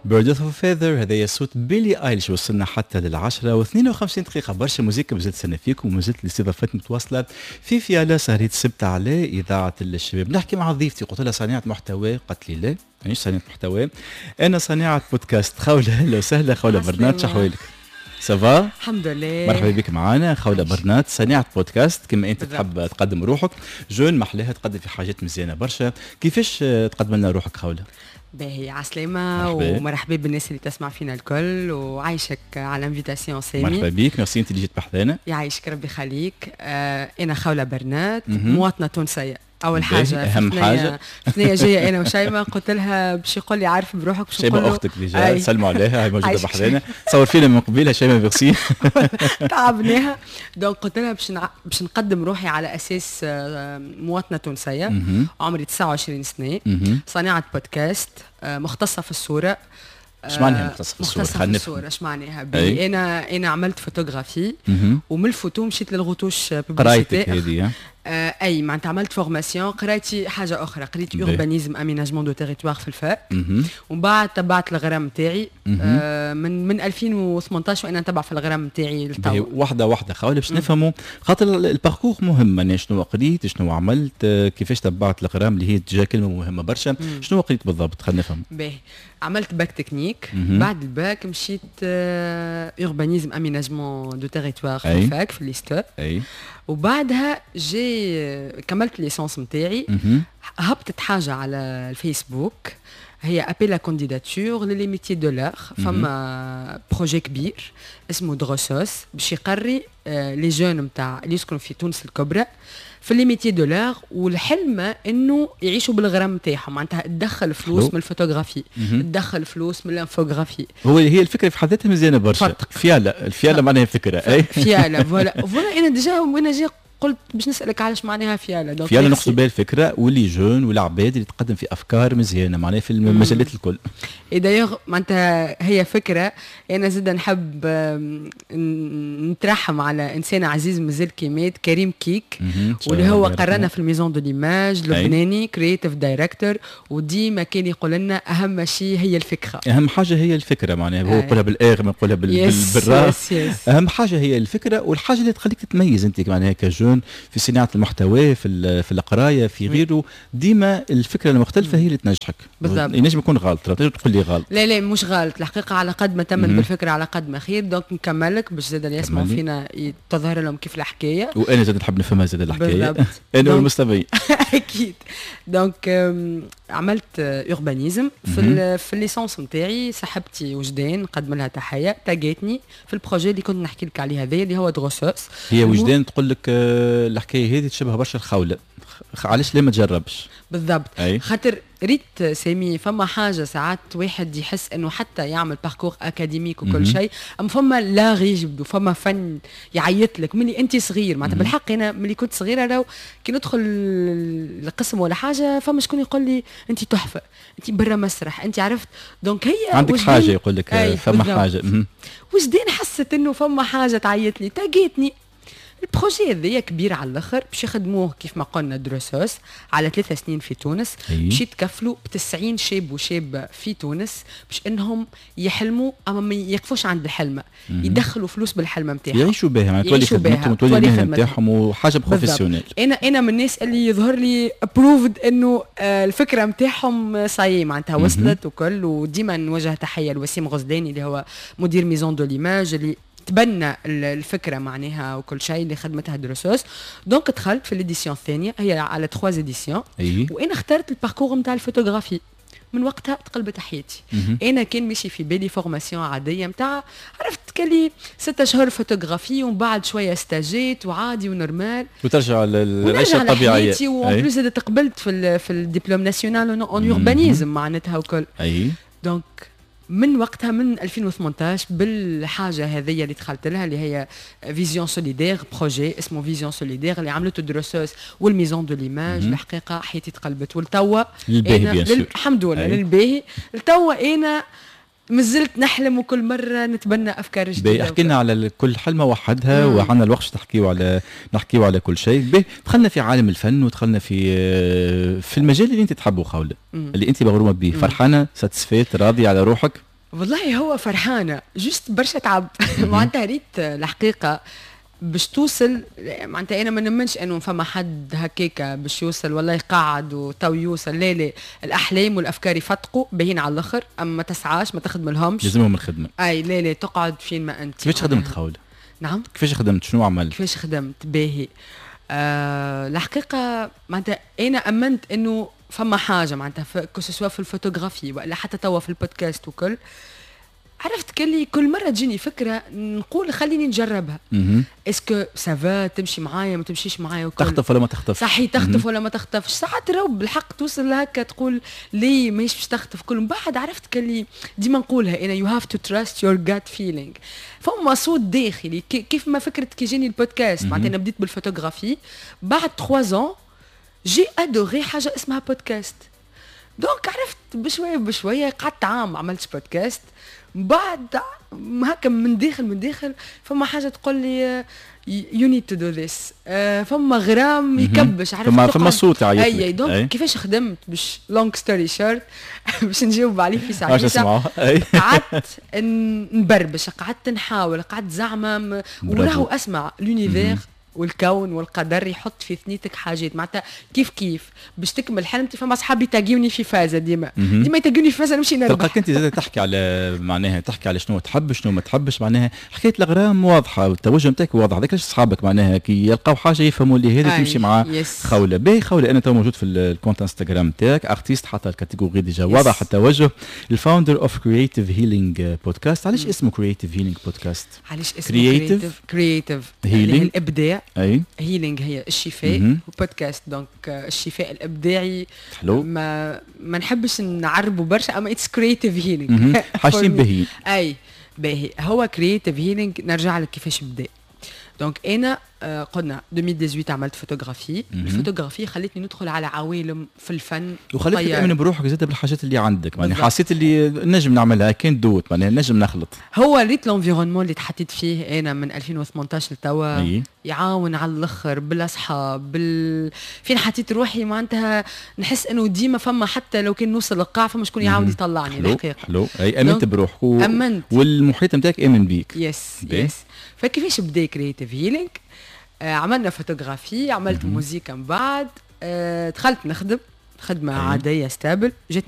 Birds of a Feather، هذا صوت بيلي ايليش. وصلنا حتى لل10 و52 دقيقة. برشا موزيكا مازلت تستنى فيكم، ومازلت الاستضافات متواصلة في فيالا سهرية السبت على إذاعة الشباب. نحكي مع ضيفتي، قلت لها صانعة محتوى، قالت لي لا، مانيش صانعة محتوى، أنا صانعة بودكاست. خولة، أهلا وسهلا خولة برنات، شحوالك؟ ça va؟ الحمد لله. مرحبا بك معنا خولة برنات، صانعة بودكاست كما انت تحب تقدم روحك. jeune محلاها، تقدم في حاجات مزيانة برشا. كيفاش تقدم لنا روحك خولة؟ باهي، عسلامة ومرحبا بالناس اللي تسمع فينا الكل، وعايشك على l'invitation سامي. مرحبا بك، ميرسي انت اللي جيت بحذانا. يعيشك، ربي يخليك. انا خولة برنات، مواطنة تونسية اول حاجه. اهم حاجه. ثنية جاية انا وشيماء، قلت لها باش يقول لي عارف بروحك. باش شيماء اختك déjà، سلموا عليها، هي موجودة بحذانا تصور فينا من قبيلة. شيماء ميرسي. تعبناها. donc قلت لها باش نقدم روحي على اساس مواطنه تونسيه، عمري 29 سنه، صانعه بودكاست، مختصة في الصوره. ايش معناها مختصة في الصورة؟ مختصة في الصورة ايش معناها؟ انا عملت فوتوغرافي ومن الفوتو مشيت للغطوش. قرايتك هذه؟ اي، معناتها عملت formation، قرايتي حاجة اخرى، قريت urbanisme aménagement de territoire في ال fac، ومن بعد تبعت الغرام نتاعي من 2018 وانا نتبع في الغرام نتاعي. لتو واحدة واحدة خولة باش نفهموا، خاطر ال parcours مهم، معناها شنو قريت، شنو عملت، كيفاش تبعت الغرام اللي هي déjà كلمة مهمة برشا. شنو قريت بالضبط؟ خلينا نفهم. باهي، عملت bac technique، بعد الباك مشيت urbanisme aménagement de territoire في ال fac في l'ISTA. وبعدها j'ai كملت licence نتاعي، هبطت حاجة على الفيسبوك هي appel à candidature les métiers de l'art. فما projet كبير اسمه دروسوس باش يقري les jeunes نتاع اللي يسكنوا في تونس الكبرى في les métiers de l'art، والحلم انه يعيشوا بالغرام نتاعهم، معناتها تدخل فلوس من الفوتوغرافي، تدخل فلوس من l'infographie. هي الفكرة في حد ذاتها مزيانه برشا. فيالا، الفيالا معناها فكره. اي فيالا، voilà voilà. انا déjà وانا جي قلت باش نسالك علاش معناها فيالا. فيالا نقصد بها الفكرة و les jeunes والعباد اللي تقدم في افكار مزيانه، معناها في المجالات الكل. et d'ailleurs معناتها هي فكره، انا زاد نحب نترحم على انسان عزيز مازال كي مات، كريم كيك، واللي هو قرانا في ال Maison de l'image، لبناني creative director، وديما كان يقول لنا اهم شيء هي الفكره. اهم حاجة هي الفكره، معناها هو يقولها بالاغ ما يقولها بالراء. اهم حاجة هي الفكره، والحاجة اللي تخليك تتميز انت معناها ك jeune في صناعة المحتوى، في القرايه، في غيره. ديما الفكرة المختلفة هي اللي تنجحك. بالضبط. ينجم يكون غلط، تنجم تقول لي غلط. لا لا، مش غلط الحقيقه، على قد ما تمن بالفكرة على قد ما خير. donc نكملك باش زاد اللي يسمعوا فينا تظهر لهم كيف الحكايه. وانا زاد نحب نفهمها زاد الحكايه، انا والمستمعين. اكيد. donc عملت urbanisme في ال licence نتاعي، صاحبتي وجدان نقدم لها تحيه، تاجيتني في ال projet اللي كنت نحكي لك عليه هذا اللي هو دروسوس. هي وجدان تقول لك الحكاية هذه تشبه برشا الخوله، علاش ليه ما تجربش؟ بالضبط. أي. خاطر ريت سامي، فما حاجة ساعات واحد يحس انه حتى يعمل parcours académique وكل شيء، اما فما l'art يجبدو، فما فن يعيط لك ملي انت صغير. معناتها بالحق انا ملي كنت صغيره، لو كي ندخل القسم ولا حاجه، فما شكون يقول لي انت تحفه، انت برا مسرح، انت عرفت. donc هي عندك حاجه، يقول لك فما حاجه. وجدان حست انه فما حاجة تعيط لي، تاقيتني. ال projet هذايا كبير على الاخر، باش يخدموه كيف ما قلنا دروسوس على 3 سنين في تونس، باش يتكفلوا ب 90 شاب وشابه في تونس باش انهم يحلموا، اما ما يقفوش عند الحلمه، يدخلوا فلوس بالحلمه نتاعهم. يعيشوا بها، يعني تولي خدمتهم وتولي المهنة نتاعهم وحاجه professionnelle. انا من الناس اللي يظهر لي proved انه الفكرة نتاعهم ça y est معناتها وصلت وكل. وديما نوجه تحية لوسيم غزلاني اللي هو مدير Maison de l'image، اللي تبنى الفكرة معناها وكل شيء اللي خدمتها دروسوس. donc دخلت في l'édition الثانيه، هي على 3 éditions. وانا اخترت ال parcours نتاع الفوتوغرافي. من وقتها تقلبت حياتي. انا كان ماشي في بالي formation عادية نتاع عرفت كلي 6 اشهر فوتوغرافي ومن بعد شوية ستاجات وعادي و normal. وترجع للعيشه الطبيعيه. و en plus تقبلت في ال diplôme national en urbanisme معناتها وكل. Donc من وقتها، من 2018، بالحاجة هذه اللي دخلت لها اللي هي Vision solidaire، projet اسمه Vision solidaire اللي عملته دروسوس وال Maison de l'image، الحقيقة حياتي تقلبت ولتوا. للباهي. bien. الحمد لله، للباهي. لتوا انا مازلت نحلم وكل مرة نتبنى افكار جديده. احكي لنا على كل حلمه وحدها، وعندنا الوقت نحكيو على كل شيء. باهي، دخلنا في عالم الفن ودخلنا في المجال اللي انت تحبه خولة، اللي انت مغرومه به. فرحانه، satisfaite، راضية على روحك؟ والله هو فرحانه، juste برشا تعب. معناتها ريت الحقيقة باش توصل، معناتها انا ما نمنش انه فما حد هكاكا باش يوصل والله يقعد وتو يوصل. لا لا، الاحلام والافكار يفتقوا باهين على الاخر، اما ما تسعاش، ما تخدم لهمش. لازمهم الخدمه. اي لا لا، تقعد فين ما انت. كيفاش خدمت خوله؟ نعم؟ كيفاش خدمت؟ شنو عملت؟ كيفاش خدمت؟ باهي، الحقيقة معناتها انا امنت انه فما حاجه، معناتها que ce soit في الفوتوغرافي ولا حتى توا في البودكاست وكل، عرفت كلي كل مرة تجيني فكرة نقول خليني نجربها، est-ce que ça va تمشي معايا، ما تمشيش معايا وكل. تخطف ولا ما تخطف. صحيح، تخطف ولا ما تخطفش. ساعات راهو بالحق توصل هكا تقول ليه ماهيش باش تخطف كل. من بعد عرفت كلي ديما نقولها انا، you have to trust your gut feeling. فما صوت داخلي، كيف ما فكرة كي جاني البودكاست. معناتها انا بديت بالفوتوغرافي، بعد 3 ans j'ai adoré حاجة اسمها podcast. donc عرفت بشوية بشويه، قعدت عام ما عملتش بودكاست. بعد هكا من داخل من داخل فما حاجة تقول لي you need to do this. فما غرام يكبش، عرفت؟ فما صوت يعيط. اي، donc كيفاش خدمت؟ باش long story short، باش نجاوب عليه في ساعه. قعدت نبربش، قعدت نحاول، قعدت زعما، وراهو اسمع، l'univers والكون والقدر يحط في ثنيتك حاجات. معناتها كيف كيف باش تكمل حلمتي، فما اصحابي تاقيوني في فازه، ديما ديما يتاقوني في فازه، نمشي نربح. تلقاك انت زاد تحكي على معناها تحكي على شنو تحب، شنو ما تحبش. معناها حكاية الاغرام واضحة والتوجه نتاعك واضح. هذاك اصحابك معناها كي يلقاو حاجة يفهموا اللي هذه تمشي مع خوله. باهي خوله، انا تو موجود في ال compte انستغرام تاعك، artiste، حتى ال catégorie déjà واضح التوجه، ال founder of Creative Healing Podcast. علاش اسمه Creative Healing Podcast؟ علاش اسمه creative؟ creative healing الابداع، healing هي الشفاء، podcast donc الشفاء الابداعي. حلو. ما نحبش نعربوا برشا، اما it's creative healing. حاجتين باهيين. اي باهي، هو creative healing نرجع لك كيفاش بدا. donc انا قلنا 2018 عملت photographie. ال photographie خلتني ندخل على عوالم في الفن. وخلتك تامن بروحك زاد بالحاجات اللي عندك، يعني حسيت اللي نجم نعملها، كان دوت معناها نجم نخلط. هو ريت l'environnement اللي تحطيت فيه انا من 2018 لتوا يعاون على الاخر، بالاصحاب، فين حطيت روحي. معناتها نحس انه ديما فما، حتى لو كان نوصل للقاع فما شكون يعاود يطلعني. الحقيقة حلو، اي امنت بروحك امنت. والمحيط نتاعك امن بيك. yes. فكيفاش بدا Creative Healing؟ عملنا فوتوغرافي، عملت موزيكا، من بعد دخلت نخدم خدمة عادية stable، جاتني